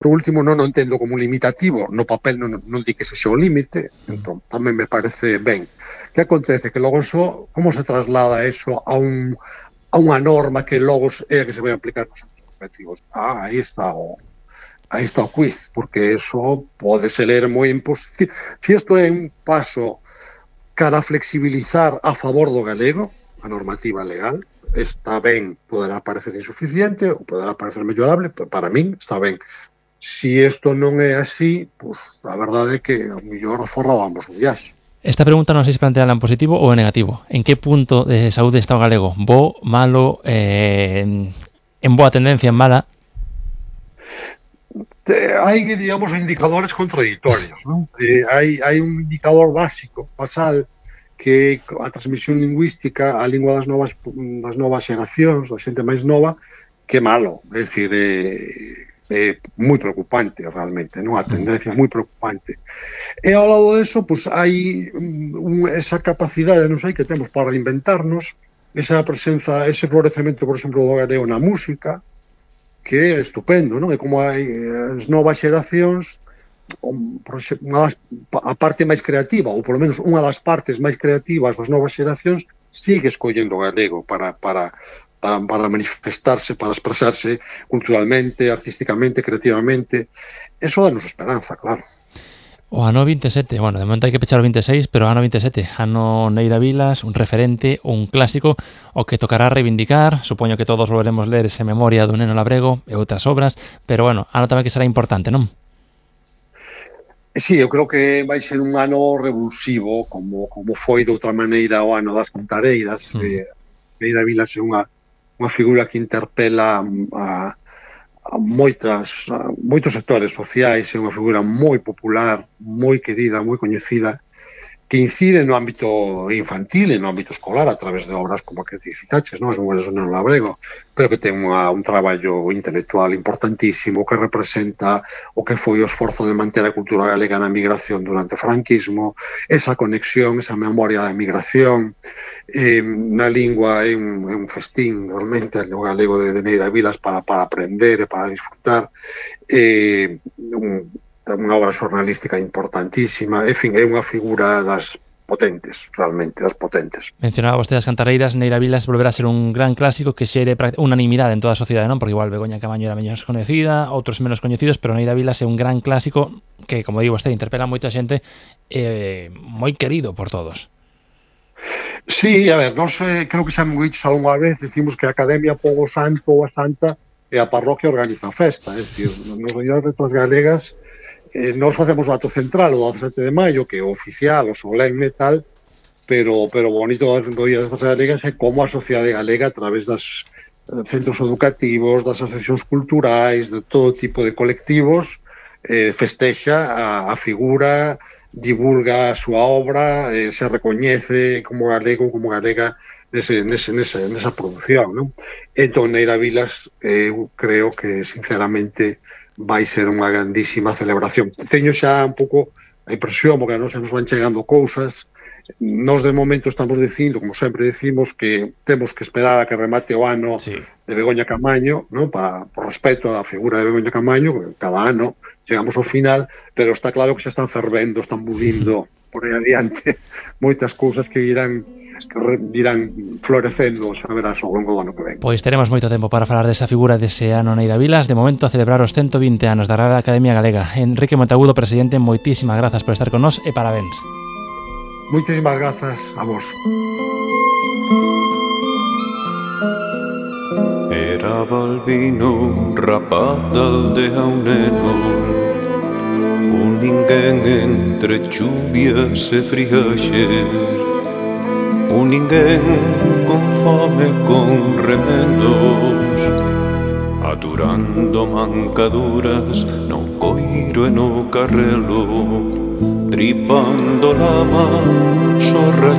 Por último, non o entendo como un limitativo, no papel non di que sexa o límite, entón tamén me parece ben. Que acontece? Que logo como se traslada eso a unha norma que logo é a que se vai aplicar nos anos conventivos? Aí está o quiz, porque eso pode se ler moi imposible. Se isto é un paso cara a flexibilizar a favor do galego, a normativa legal, está ben, poderá parecer insuficiente ou poderá parecer mellorable, pero para min está ben. Si isto non é así, pues, a verdade é que ao mellor forrábamos o viaxe. Esta pregunta non sei se planteala en positivo ou en negativo. En que punto de saúde está o galego? Bo, malo, en boa tendencia, en mala? Hai, digamos, indicadores contradictorios, non? Hai un indicador básico, basal, que a transmisión lingüística, a lingua das novas xeracións, da xente máis nova, que malo, é dicir, é moi preocupante realmente, non? A tendencia é moi preocupante. E ao lado deso, pois hai esa capacidade, non sei, que temos para reinventarnos, esa presenza, ese florecemento, por exemplo, do galego na música, que é estupendo, non? É como hai as novas xeracións, a parte máis creativa, ou polo menos unha das partes máis creativas das novas xeracións, sigue escollendo o galego para manifestarse, para expresarse culturalmente, artísticamente, creativamente. Eso danos esperanza, claro. O ano 27, bueno, de momento hai que pechar o 26, pero o ano 27, ano Neira Vilas, un referente, un clásico, o que tocará reivindicar. Supoño que todos volveremos ler ese Memoria do Neno Labrego e outras obras, pero bueno, ano tamén que será importante, non? Sí, eu creo que vai ser un ano revulsivo, como foi de outra maneira o ano das Cantareiras. Neira Vilas é unha figura que interpela a moitos sectores sociais, é unha figura moi popular, moi querida, moi coñecida, que incide no ámbito infantil e no ámbito escolar a través de obras como a que ti citaches, non? As Memorias do Neno Labrego, pero que ten un traballo intelectual importantísimo que representa o que foi o esforzo de manter a cultura galega na migración durante o franquismo, esa conexión, esa memoria da migración. Na lingua é un festín realmente o galego de Neira Vilas para aprender e para disfrutar. Unha obra xornalística importantísima, en fin, é unha figura das potentes, realmente, das potentes. Mencionaba vostede as Cantareiras, Neira Vilas volverá a ser un gran clásico que xere unanimidade en toda a sociedade, non? Porque igual Begoña Camaño era menos coñecida, outros menos coñecidos, pero Neira Vilas é un gran clásico que, como digo vostede, interpela moita xente, moi querido por todos. Sí, a ver, nós creo que xa me dicho algunha vez, decimos que a Academia Pobo Santo ou a Santa e a parroquia organiza a festa, é dicir, nas realidades letras galegas nós facemos o acto central o 17 de maio, que é o oficial, o solemne e tal, pero o bonito do Día das Letras Galegas é como a sociedade galega, a través dos centros educativos, das asociacións culturais, de todo tipo de colectivos, festexa a figura, divulga a súa obra, se recoñece como galego, como galega nesa produción, non? Entón, Neira Vilas, eu creo que, sinceramente, vai ser unha grandísima celebración. Teño xa un pouco a impresión, porque a nos van chegando cousas. Nós, de momento, estamos dicindo, como sempre decimos, que temos que esperar a que remate o ano de Begoña Camaño, non? Por respeto á figura de Begoña Camaño, cada ano chegamos ao final, pero está claro que xa están fervendo, están bulindo por aí adiante moitas cousas que irán florecendo, xa verás, ao longo do ano que ven. Pois teremos moito tempo para falar desa figura dese ano Neira Vilas. De momento, a celebrar os 120 anos da Real Academia Galega. Enrique Monteagudo, presidente, moitísimas grazas por estar con nós e parabéns. Moitísimas grazas a vos. Era Balbino, un rapaz da aldea, un neno, un ninguén entre chuvias e friaxes, un ninguén con fome, con remendos, aturando mancaduras no coiro e no carrelo, tripando lama, sorra